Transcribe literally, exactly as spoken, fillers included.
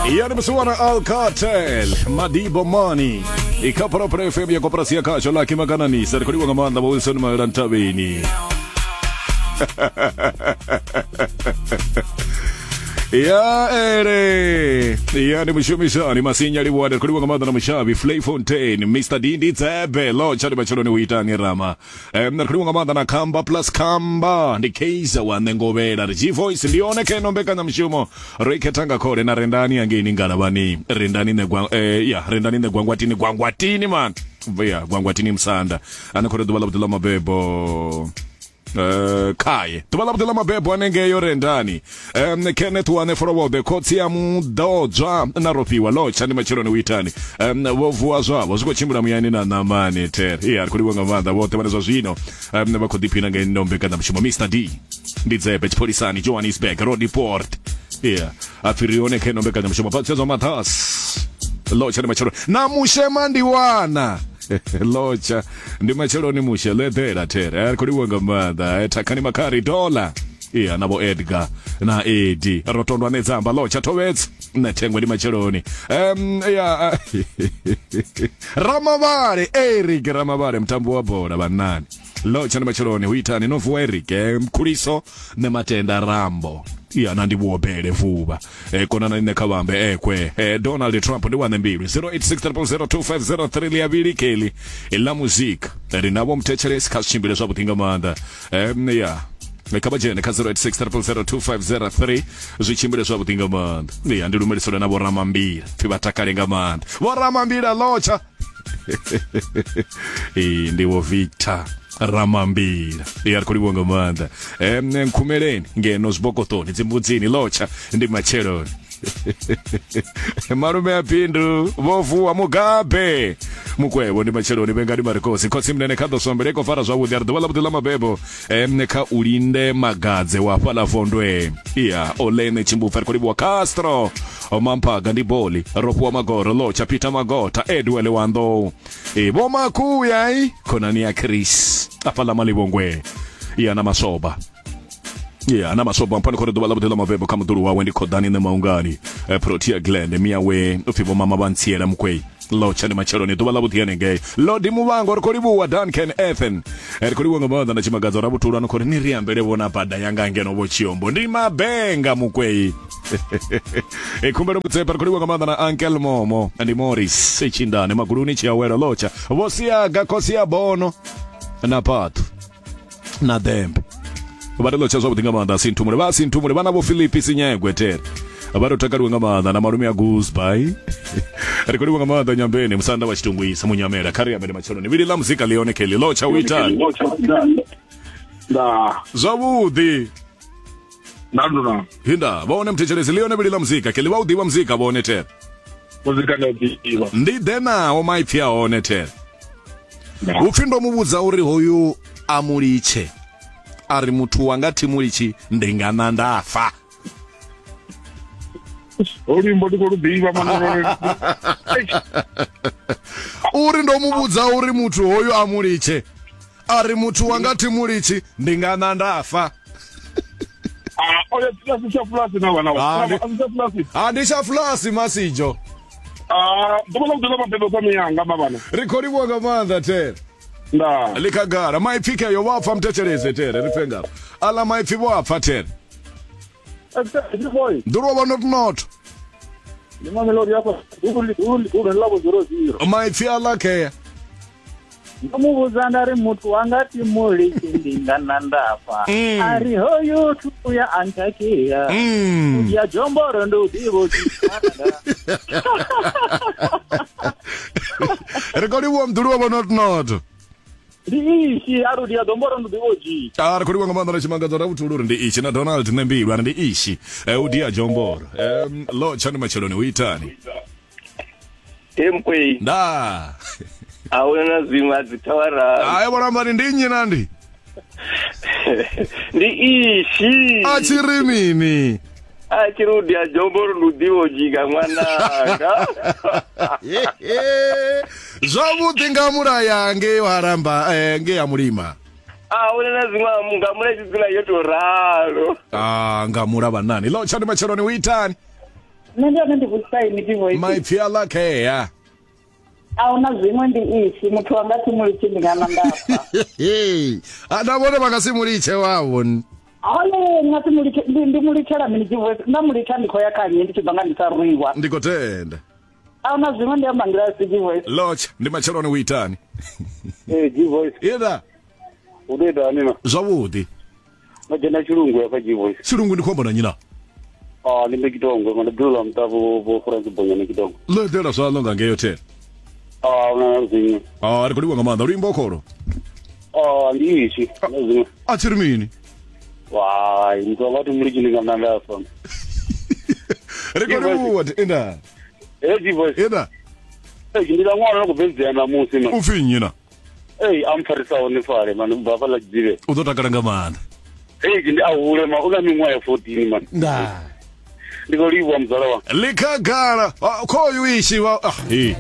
Yani musiwana Alcatel Madibo Money ikapro F M ya koporasi ya kasho la kimakananisa rekodiwa nga maanḓa Wilson Marantabeni. Ya ere yani mushumisani masinya liwada rekodiwa nga maanḓa na mushavi Flay Fontaine Mister Dindi Tsebe lo chali bacheloni uitani rama em rekodiwa nga maanḓa na Kamba plus Kamba ndi Kaiser wa Nengovela ri G Voice ndi one keno mbekanya mushumo ro ikhetanga khole na rendani angeini ngalavhani rendani negwa eh ya rendani negwangwatini gwangwatini man ya gwangwatini msanda ana khore ḓuvha ḽa vhuḓi ḽa mabebo. Uh, kai ḓuvha ḽa vhuḓi ḽa mabebo anengeyo rendani um, Kenneth wane forward khotsi ya muḓodzwa na rofhiwa lotsha ndi matsheloni uitani um, vho vuwa zwavho zwi khou tshimbila muyani na ṋamani ter iya ri khou livhuwa nga maanḓa vhoṱhe vhane zwa zwino um, vha khou ḓiphina nga ino mbekanyamushumo. Mister D ndi Dzebe tshipholisani Johannesburg Road Port iya a pfi ri hone kha ino mbekanyamushumo phatsedzwa mathas lotsha ndi matsheloni na mushema ndi wana lotsha ndi matsheloni mushe ḽeḓela there ri khou livhuwa nga maanḓa thakhani makhari dola iya na vho Edgar na Edi rotondwa nedzamba lotsha thovhedza nṋe thengwe ndi matsheloni um ya Ramavhale Eric Ramavhale mutambo wa bola vhannani lotsha ndi matsheloni hu itani no vuwa Eric mkhuliso nṋe matenda Rambo iya na ndi vhuobele vuvha e, konana nṋe kha vhambe ekwe e, Donald Trump ndi wane mbilu zero eight six zero zero two five zero three ḽi avhili keli ḽa muzika ri navho muthetshelesi kha zwi tshimbile zwavhuḓi nga maanḓa um, ya kha vha dzhene kha zero eight six zero zero two five zero three zwi tshimbile zwavhuḓi nga maanḓa ya ndi lumeliselwe na vho Ramambila pfi vha takale nga maanḓa vho Ramambila lotsha e, ndi vho Victor Ramambila ya ri khou livhuwa nga maanḓa em nkhumeleni ngeno zwibokotoni dzimbudzini lotsha ndi matsheloni malume a Bindu vho vuwa Mugabe mukwevho ndi matsheloni vhengani marikosi khotsi munene kha ḓo sombele i khou fara zwavhuḓi a ri ḓuvha ḽa vhuḓi ḽa mabebo em kha u linde magadze wa fhaḽa vondwe iya olene tshimbupfa ri khou livhuwa Castro Mamphaga ndi boli rofhiwa magoro lotsha Peter Magota Edwele wa Nḓou e vho Makuya i khonani ya Chris afhaḽa Malivhongwe iya na Masoba yeah na Masoba mpano khore ḓuvha ḽa vhuḓi ḽa mabebo kha muḓulu wawe ndi Khodani nṋe Maungani eh, Protea Glen miawe upfi vho mama vha ntsiela mukwei lotsha ndi matsheloni ḓuvha ḽa vhuḓi hanengei Lodi Muvhango ri khou livhuwa Duncan Ethan ri khou livhuwa nga maanḓa na tshimagadzo Rabutulu ano khori ni ri ambele vhona bada yanga ngeno vho Tshiombo ndi mabenga mukwei e khumbelo mutsepa ri khou livhuwa nga maanḓa na Uncle Momo ndi Morris Tshindane Maguluni Tshiawelo lotsha vho Siaga khosi ya bono na Phathu na Dembe vha ri lotsha zwavhuḓi nga maanḓa Sinthumule vha Sinthumule vhana vho Philip Sinyegwe tere vha ro takaliwe nga maanḓa na malume a Gooseby ri khou livhuwa nga maanḓa Nyambeni musanda wa Tshitungwisa munyamela kha ri ambele matsheloni vhili ḽa muzika ḽi hone kheli lotsha u itani nda zwavhuḓi nda nduna hinda vha hone muthetshelesi ḽi hone vhili ḽa muzika kheli vha u ḓivha muzika vha hone tere muzika ndi ḓivha ndi ḓe naho maipfi a hone tere upfi ndo mu vhudza uri hoyu a mulitshe a ri muthu wanga thi mulitshi ndi nga na nda fa luimbo ndi khou lu ḓivha manolo uri ndo mu vhudza uri muthu hoyu a mulitshe a ri muthu wanga thi mulitshi ndi nga na nda fa ah oya tlasi tsha fulasi na vhana Ah, ndi- a tsha fulasi a ndi tsha fulasi masijo ah ḓuvha ḽa vhuḓi ḽa mabebo kha miyanga mavhana ri khou livhuwa nga maanḓa tere nda ḽi khagala maipfi kheyo vha pfa muthetshelese tere ri pfe ngafha aḽa maipfi vho a pfa tere nḓuluwa vha notonoto ndi mamelodi afha ulu ḽa vho zero zero maipfi aḽa khea ndo mu vhudza nda ri muthu wanga thi mulitshi ndi nga na nda fa Mm. a ri hoyu thuya a nkhakheya Mm. ya jomboro ndi u ḓivha ri khou livhuwa muḓuluwa vha notonoto ndi ishi a ri ya domboro ndi ḓivha u dzhia a ri khou livhuwa nga maanḓa na tshimangadzo Rabutulu uri ndi ishi na Donald Nembilu ari ndi ishi eh, u dia jomboro um, lotsha ndi matsheloni hu itani He mkwei nda ahuna na zwiṅwe a dzi thawara hayi vholambani ndi nnyi nandi ndi ishi a tshi ri mini a tshi ri u dia jomboro ndi u ḓivha u dzhika ṅwananga zwavhuḓi nga mulaya ngei haramba eh, ngei ha mulima ahuna na zwiṅwe nga mula tshi dzula yo tou ralo ah nga mula vhanani lotsha ndi matsheloni hu itani Nṋe ndi hone ndi vhudzisa ini G-Voice. Maipfi a lakhea. A huna zwiṅwe ndi ishi muthu wanga thi mulitshi ndi nga nda fa. A na vhone vha nga si mulitshe wavho. Hone nga si mulitshe ndi ndi mulitshela mini G-Voice nda mulitsha ndi khou ya kha nnyi ndi tshi bva nga ndi sa rwiwa. Ndi khou tenda. A huna zwiṅwe ndi amba nḓila si G-Voice. Lotsha ndi matsheloni u itani? Eh G-Voice. Ida. U ḓo itani na? Zwavhuḓi. Vha dzhena tshilungu ya kha G-Voice. Tshilungu ndi khou amba na nnyi na? Ah ndi Kitongo, mara ḓula mutavho vho France Bonyana Kitongo. Ḽo eḓela zwaḽo nga ngeyo thela. Ah una zwiṅwe. Ah ri khou livhuwa nga maanḓa luimbo kholo. Ah ndi ishi, na zwiṅwe. A tshi ri mini? Wai, muthu wanga thi mulitshi ndi nga nda fa. Ri khou livhuwa inda. Eh G-Voice. Ida. Eh ndi la ṅwana no khou bvedzea ṋamusi man. U pfi nnyi na? Eh a mpfarisaho ni fale man ubva hafhaḽa Tshidzivhe. U ḓo takala nga maanḓa. Eh ndi a hule ma u na miṅwaha ya fourteen man. Nda. Ndi khou livhuwa muzala wanga. Likhagala khoyu ishi wa ah, he.